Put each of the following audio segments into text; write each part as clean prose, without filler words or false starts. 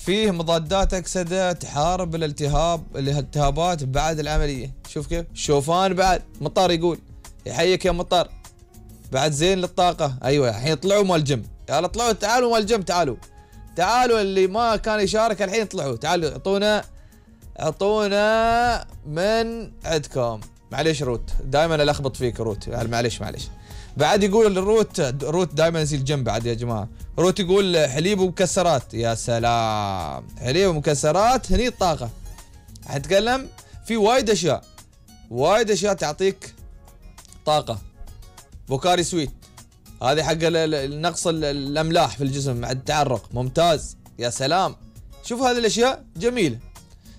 فيه مضادات أكسدة تحارب الالتهابات بعد العملية. شوف كيف. الشوفان بعد مطر يقول يحييك يا مطر، بعد زين للطاقة. أيوة الحين طلعوا مال الجيم، يلا طلعوا تعالوا مال الجيم، تعالوا اللي ما كان يشارك الحين طلعوا، تعالوا اعطونا من عندكم. معليش روت، دائما الخبط فيك روت، معليش. بعد يقول روت دائما يصير الجيم بعد يا جماعة. روت يقول حليب ومكسرات. يا سلام، حليب ومكسرات هني الطاقة. حنتكلم في وايد اشياء تعطيك طاقة. بوكاري سويت هذه حق نقص الاملاح في الجسم مع التعرق، ممتاز. يا سلام، شوف هذه الاشياء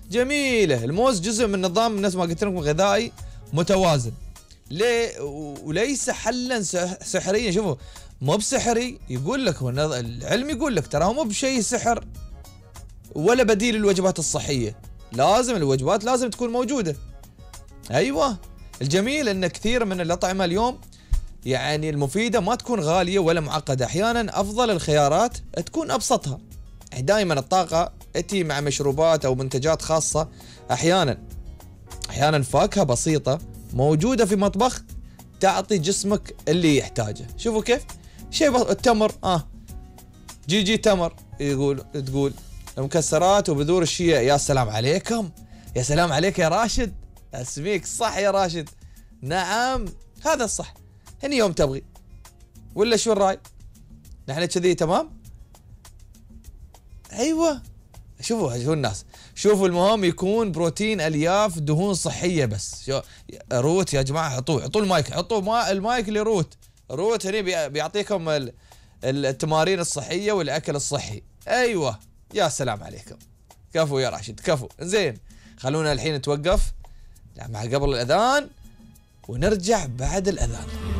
جميلة. الموز جزء من نظام الناس ما قلت لكم غذائي متوازن. ليه؟ وليس حلا سحريا. شوفوا مو بسحري، يقول لك العلم يقول لك ترى مو بشيء سحر ولا بديل للوجبات الصحية. لازم الوجبات لازم تكون موجودة. ايوه، الجميل ان كثير من الأطعمة اليوم يعني المفيدة ما تكون غالية ولا معقدة، احيانا افضل الخيارات تكون ابسطها. يعني دائما الطاقة تأتي مع مشروبات او منتجات خاصة. احيانا فاكهة بسيطة موجودة في مطبخ تعطي جسمك اللي يحتاجه. شوفوا كيف شيء التمر، جي تمر تقول المكسرات وبذور الشيا. يا سلام عليكم، يا سلام عليك يا راشد، اسميك صح يا راشد. نعم هذا الصح، هني يوم تبغي ولا شو الراي؟ نحن كذي تمام. ايوه شوفوا الناس، شوفوا المهم يكون بروتين، الياف، دهون صحيه بس. روت يا جماعه، حطوا المايك، المايك لروت هني بيعطيكم التمارين الصحيه والاكل الصحي. ايوه يا سلام عليكم، كفو يا راشد كفو. زين خلونا الحين نتوقف مع قبل الاذان ونرجع بعد الاذان.